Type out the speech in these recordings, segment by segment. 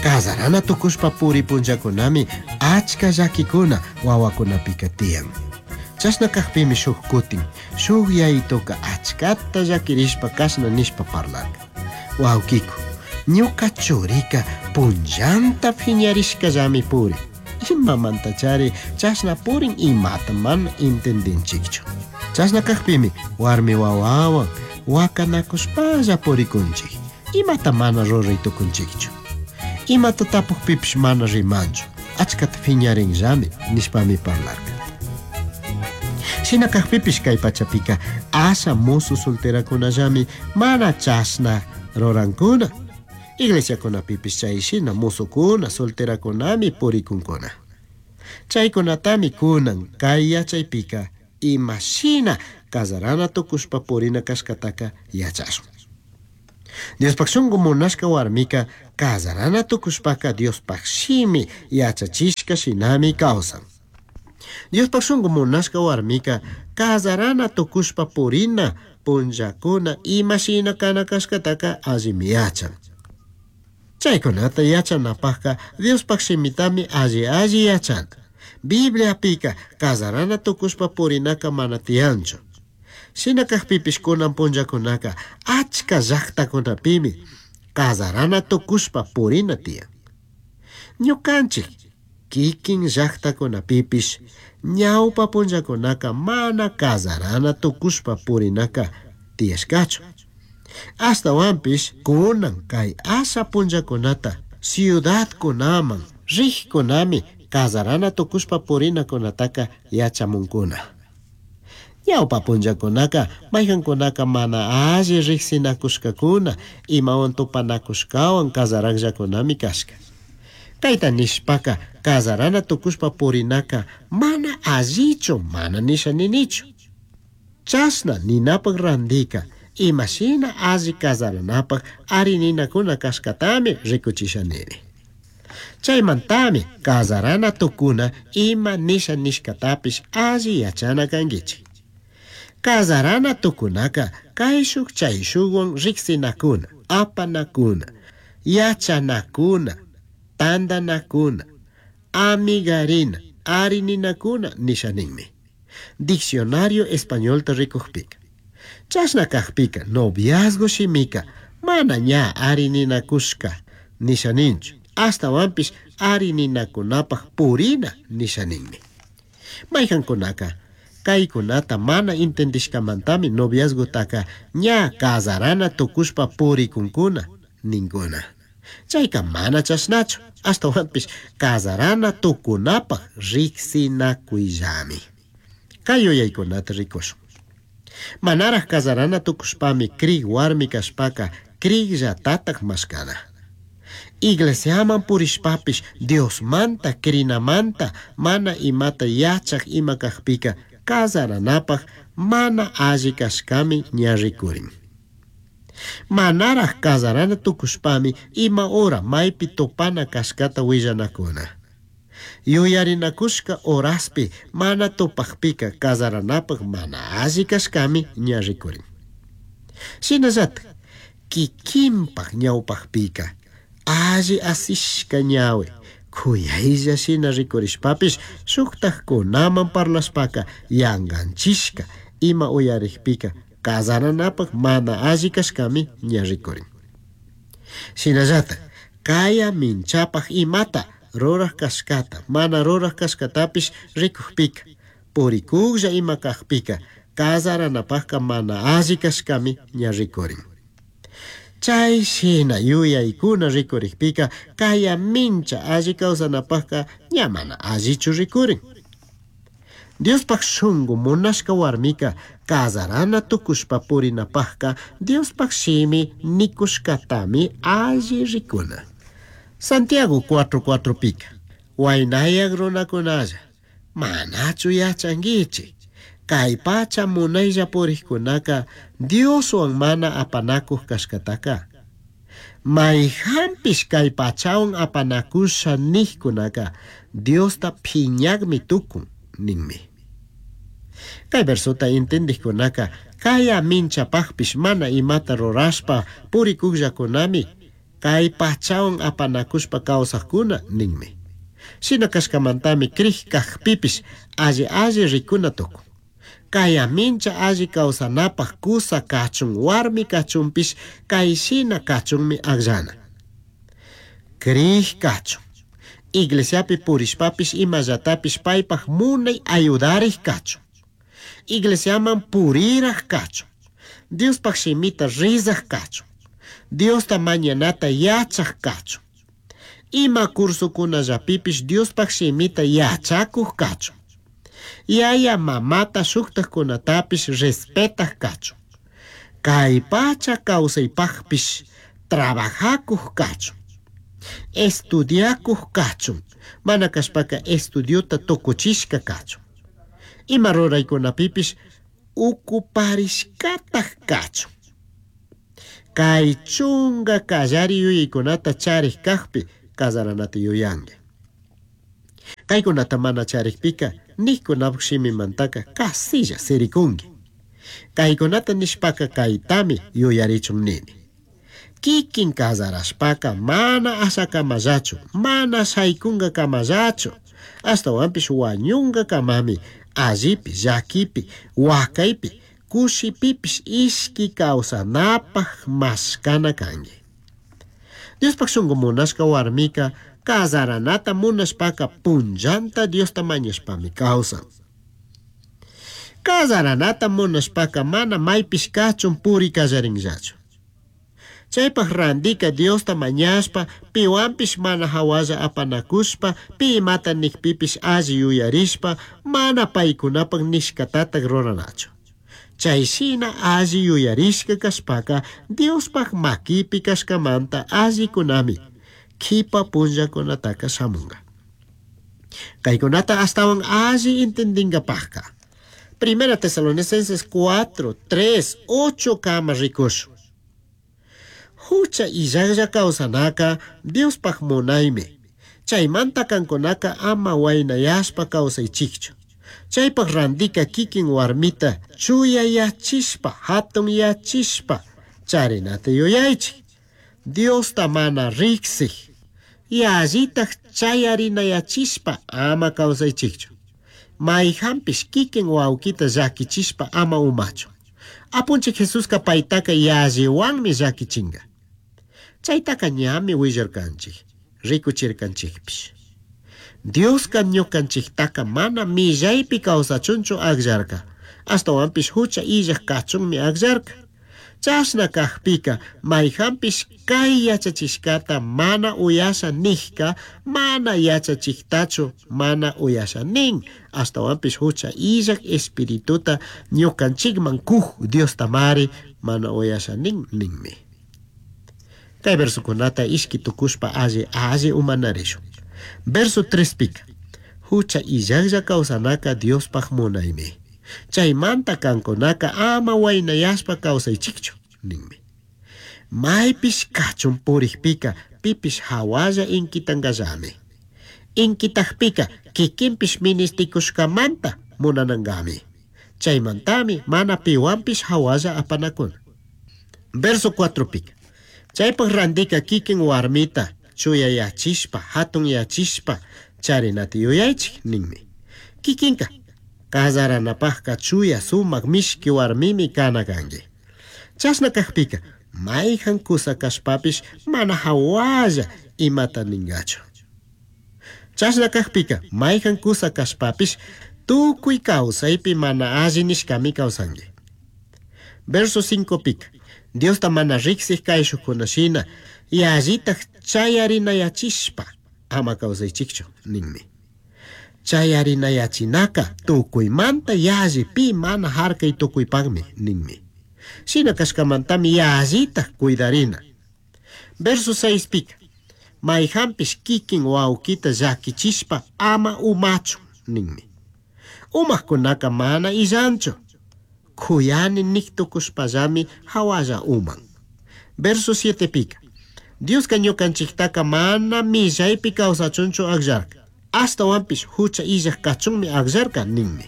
Cazarana tucushpa puri punllakunami achka llaquicuna wawakunapika tiyan. Chashna kajpimi shuj kutin, shuj yayituka achkata llaquirishpa kashna nishpa parlarka. Wawkiku, ñuka churika punllanta phiñarishkallami purin. Imamantachari chashna purin imata mana entendinchikchu. Chashna kajpimi warmi wawawan wakanakushpalla purikunchik. Imata mana ruray tukunchikchu. Imata tapukpipish mana rimanchu. Achkata phiñarinllami nishpami parlarka. Shina kajpipish kay pachapika asha musu solterakunallami mana chashna rurankuna. Iglesiakunapipish chay shina musukuna solterakunami purikunkuna. Chaykunatami kunan kay yachaypika ima shina kazarana tukushpa purina kashkataka yachashun. Diospaj shunku munashka warmika kazarana tukushpaka Diospaj shimi yachachishka shinami kawsan. Diospaj shunku munashka warmika kazarana tukushpa purina punllakuna ima shina kana kashkataka allimi yachan. Chaykunata yachanapajka Diospaj shimitami alli alli yachana. Bibliapika kazarana tukushpa purinaka mana tiyanchu. Shina kajpipish kunan punllakunaka achka llaktakunapimi kazarana tukushpa purina tiyan. Ñukanchik kikin llaktakunapipish ñawpa punllakunaka mana kazarana tukushpa purinaka tiyashkachu. Ashtawanpish kunan kay asha punllakunata ciudadkunaman rijkunami kazarana tukushpa purinakunataka yachamunkuna. Ñawpa punllakunaka mayqankunaka mana alli riqsinakushkakuna imawan tupanakushkawan kazarakllakunami kashka. Kayta nishpaka kazarana tukushpa purinaka mana allichu mana nisha ninichu. Chashna ninapaq randika imashina alli kazaranapaq arininakuna kashkatami rikuchisha nini. Chaymantami kazarana tukuna ima nisha nishkatapish alli yachana kankichik. Kazarana tukunaka kayshuk chayshukwan riksinakuna, apanakuna, yachanakuna, tantanakuna, amigarina, arininakuna nisha ninmi. Diccionario españolta rikukpika. Chashna kajpika noviazgo shimika mana ña arininakushka nisha ninchu. Ashtawanpish arininakunapaj purina nisha ninmi. Mayqankunaka kaykunata mana entendishkamantami noviazgotaka ña kazarana tukushpa purikunkuna ninkuna. Chayka mana chashnachu, ashtawanpish kazarana tukunapaj riqsinakuyllami. Kay yuyaykunata rikushun. Manaraj kazarana tukushpami krig warmi kashpaka krigllatataj mashkana. Iglesiaman purishpapish Diosmanta krinamanta mana imata yachaj ima kajpika kazaranapaj mana alli kashkami ña rikurin. Manaraj kazarana tukushpami ima hora maypi tupana kashkata willanakuna. Yuyarinakushka horaspi mana tupajpika kazaranapaj mana alli kashkami ña rikurin. Shinallatak kikinpaj ñawpajpika alli asishka ñawi kuyaylla shina rikurishpapish shuktajkunaman parlashpaka yanganchishka ima uyarikpika kazaranapaj mana alli kashkami ña rikurin. Shinallatak kaya minchapaj imata ruraj kashkata mana ruraj kashkatapish rikukpika purikuklla ima kajpika kazaranapajka mana alli kashkami ña rikurin. Chay shina yuyaykuna rikurikpika kaya mincha alli kawsanapajka ña mana allichu rikurin. Diospaj shunku munashka warmika kazarana tukushpa purinapajka Diospaj shimi nikushkatami alli rikuna. Santiago 4:4 pika Waynayak runakunalla manachu yachankichik kay pacha munaylla purikkunaka Dioswan mana apanakuq kashkataka. Mayqanpish kay pachawan apanakusha niqkunaka Diosta phiñaqmi tukun ninmi. Kay versota entendikkunaka kaya minchapaqpish mana imata rurashpa purikuqllakunami Kay pachawan apanakushpa kawsaqkuna ninmi. Shina kashkamantami crij kajpipish alli alli rikuna tukun. Kaya mincha alli kawsanapaq kusa kachun warmi kachunpish kay shina kachunmi akllana. Crij kachun. Iglesiapi purishpapish imallatapish paypaj munay ayudarik kachun. Iglesiaman puriraj kachun. Diospaj shimita rizaj kachun. Diosta mañanata yachaj kachun. Ima cursokunallapipish Diospaj shimita yachakuj kachun. Yaya mamata shuktajkunatapish respetaj kachun. Kay pacha kawsaypajpish trabajakuj kachun. Estudiakuj kachun. Mana kashpaka estudiota tukuchishka kachun. Ima ruraykunapipish ukuparishkataj kachun. Kay chunka kallari yuyaykunata charik kajpi kazaranata yuyanki. Kaykunata mana charikpika nijkunapuk shimimantaka kasilla sirikunki. Kaykunata nishpaka kaytami yuyarichun nini. Kikin kazarashpaka mana ashakamallachu, mana shaykunkakamallachu, ashtawanpish wañunkakamami allipi, llakipi, wakaypi, kushipipish ishki kawsanapaj mashkana kanki. Diospaj shunku munashka warmika kazaranata munashpaka punllanta Diosta mañashpami kawsan. Kazaranata munashpaka mana maypish kachun puri kallarinllachu. Chaypaj randika Diosta mañashpa piwanpish mana hawalla apanakushpa pi imata nikpipish alli yuyarishpa mana paykunapak nishkatatak ruranachu. Chay shina alli yuyarishka kashpaka Diospaj makipi kashkamanta allikunami kipa punllakunataka shamunka. Kaykunata ashtawan alli entendinkapajka. Primera Tesalonicenses 4, 3, 8 kama rikushun. Hucha illajlla kawsanaka Diospaj munaymi. Chaymanta kankunaka ama waynayashpa kawsaychikchu. Chaypaj randika kikin warmita chuyayachishpa hatunyachishpa charinata yuyaychik. Diosta mana riksik. Yallitaj chayarinayachishpa ama kawsaychikchu. Mayhanpish kikin wawkita llakichishpa ama umachun. Apunchik Jesuska paytaka yalliwanmi llakichinka. Chaytaka ñami willarkanchik, rikuchirkanchikpish. Dioska ñukanchiktaka mana millaypi kawsachunchu akllarka, ashtawanpish hucha illaj kachunmi akllarka. Chashna kajpika mayhanpish kay yachachishkata mana uyasha nijka mana yachachiktachu mana uyasha nin, ashtawanpish hucha illaj espirituta ñukanchikman kuj Diostamari mana uyasha nin ninmi. Kay versokunata ishki tukushpa alli alli umanarishun. Verso 3 pika. Hucha illajlla kawsanaka Diospaj munaymi. Chaymanta kankunaka ama waynayashpa kawsaychikchu ninmi. Maypish kachun purikpika pipish hawalla inkitankallami. Inkitakpika kikinpish ministikushkamanta munanankami. Chaymantami mana piwanpish hawalla apanakuna. Verso 4 pika. Chaypaj randika kikin warmita chuyayachishpa hatunyachishpa charinata yuyaychik ninmi. Kikinka kazaranapajka chuya sumak mishki warmimi kana kanki. Chashna kajpika mayhan kusa kashpapish mana hawalla imata ninkachu. Chashna kajpika mayhan kusa kashpapish tukuy kawsaypi mana alli nishkami kawsanki. Verso 5 pika. Diosta mana riksik kayshukuna shina yallitaj chayarinayachishpa ama kawsaychikchu ninmi. Chayarinayachinaka tukuymanta yalli pi mana harkay tukuypakmi ninmi. Shina kashkamantami yallitaj cuidarina. Verso 6 pika. Mayhanpish kikin wawkita llakichishpa ama umachun ninmi. Umajkunaka mana illanchu. Kuyani nik tukushpallami hawalla uman. Verso 7 pika. Dioska ñukanchiktaka mana millaypi kawsachunchu akllarka. Ashtawanpish hucha illaj kachunmi akllarka ninmi.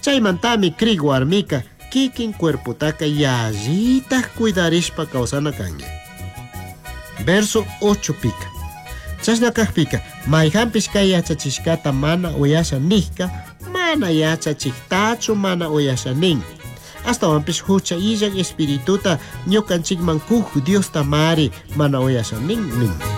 Chaymantami krik warmika kikin cuerpotaka yallitaj cuidarishpa kawsana kanki. Verso 8 pica. Chashna kajpika, mayjanpish kay yachachishkata mana uyasha nijka, mana yachachijtachu mana uyasha nin. Ashtawanpish hucha illaj espirituta ñukanchikman kuj Diosta mari mana uyasha nin nin.